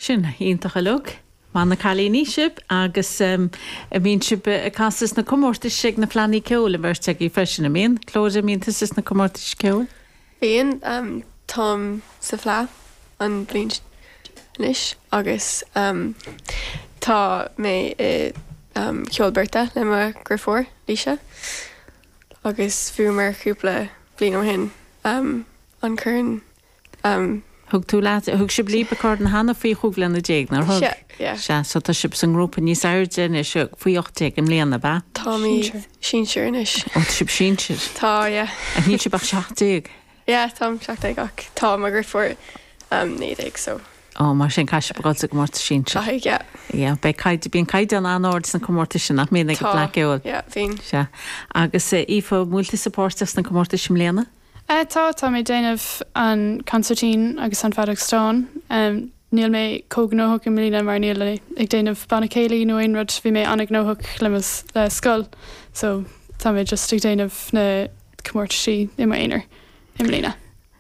Sin iontach uilig. Maith na cailíní sibh agus an mbíonn sibh ag casadh sna comórtais ag na Fleadhanna Ceoil, an bheirt agaibh freisin, an mbíonn? Clodagh, an mbíonn tusa sna comórtais ceoil? Bíonn. Táim sa Fleadh an bhliain anois agus tá mé i cheol beirte le mo dheirfiúr, Laoise, agus bhuamar cúpla bliain ó shin an corn Thug tú leat, thug sibh libh an corn cheana faoi chúig bhliana déag, nár thug? Sea, yeah. Sea, so tá sibh sa ngrúpa níos airde anois, faoi 18 i mbliana, ab ea? Táimid sinsir anois. Ó, tá sibh sinsir? Tá, yeah. Ach níl sibh ach 17? Yeah, táim 17 ach tá mo dheirfiúr 19, so. Ó, mar sin caithfidh sibh a dhul sa gcomórtas sinsir. Caithfidh, yeah. Yeah, beidh caighdeán, bíonn caighdeán an-ard sna comórtais sin, nach mbíonn ag an bhFleadh Ceoil? Tá, yeah, bíonn. Sea. Agus Aoife, an bhfuil tusa páirteach sna comórtais i mbliana? Tá, tá mé ag déanamh an consairtín agus an feadóg stáin. Níl mé chomh gnóthach i mbliana mar níl mé ag déanamh banna céilí nó aon rud, bhí mé an-ghnóthach le mo le scoil so tá mé just ag déanamh na comórtaisí i m'aonar i mbliana.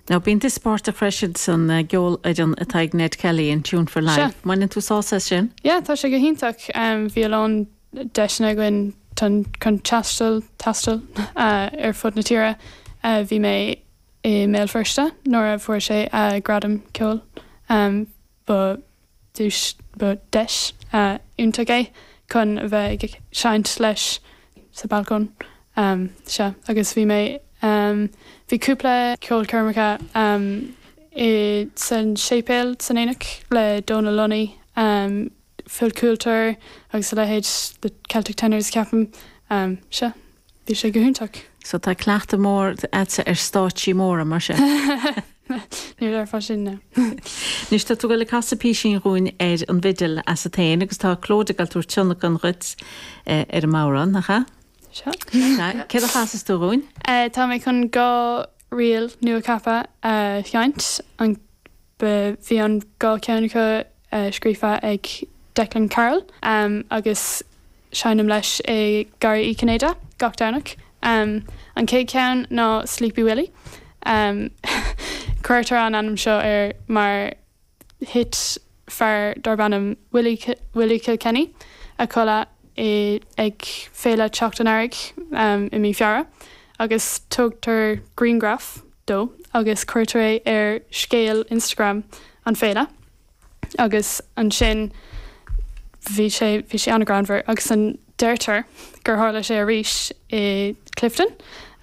Now bíonn tusa páirteach freisin san gceolfhoireann atá ag Ned Kelly, an Tune for Life. Sea. Mbaineann tú sásamh as sin? Yeah, tá sé go hiontach. Bhí a lán deiseanna againn chun taisteal, taisteal ar fud na tíre. Bhí mé i mBéal Feirste nuair a fuair sé a ghradam ceoil. Ba duais, ba deis iontach é chun a bheith ag seinnt leis sa balcóin. Sea, agus bhí mé, bhí cúpla ceolchoirmeacha i san séipéal san Aonach le Dónal Lunny. Phil Coulter agus a leithéid, The Celtic Tenors ceapaim. Sea, bhí sé go hiontach. So tá cleachtadh mór a'dsa ar stáitsí móra, mar sin? Ní déarfá sin, no. Anois tá tú ag dul ag casadh písín dhúinn ar an bhfidil asat féin agus tá Clodagh ag dul tabhairt tionlacan dhuit ar an mbodhrán, nach ea? Sea. Sea. Céard a chasfas tú dhúinn? Tá mé chun 2 ríl nua-cheaptha a sheinnt, an Ba bhí an 2 cheann acu scríofa ag Declan Carroll agus seinnim leis i Garraí Uí Chinnéide gach Domhnach. An chéad cheann ná Sleepy Willie. Cuirtear an ainm seo air mar thit fear darb ainm Willie Willie Kilkenny a chodladh i ag Féile Teacht an Earraigh i mí Feabhra agus tógtar grianghraf dó agus cuirtear é ar scéal Instagram an féile agus ansin bhí sé bhí sé an-ghreannmhar agus an deirtear gur tharla sé arís i Clifden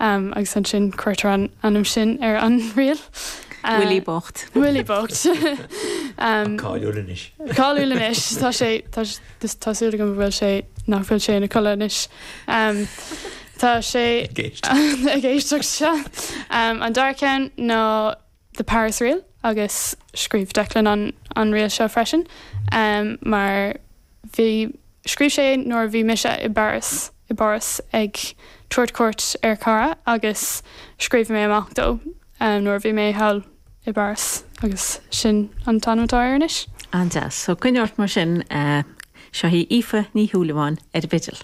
agus ansin cuirtear an ainm sin ar an ríl. Willie bocht. Willie bocht. Cáiliúil anois. Cáiliúil anois. Tá sé tá tá súil agam go bhfuil sé nach bhfuil sé ina chodladh anois. Tá sé Ag éisteacht. ag éisteacht, sea. An dara ceann ná The Paris Reel agus scríobh Declan an an ríl seo freisin mar bhí scríobh sé é nuair a bhí mise i bPáras i bPáras ag tabhairt cuairt ar chara agus scríobh mé amach dó nuair a bhí mé thall i bPáras agus sin an t-ainm atá air anois. An-deas. So coinnigh ort mar sin. Seo í Aoife Ní Shúilleabháin ar an bhfidil.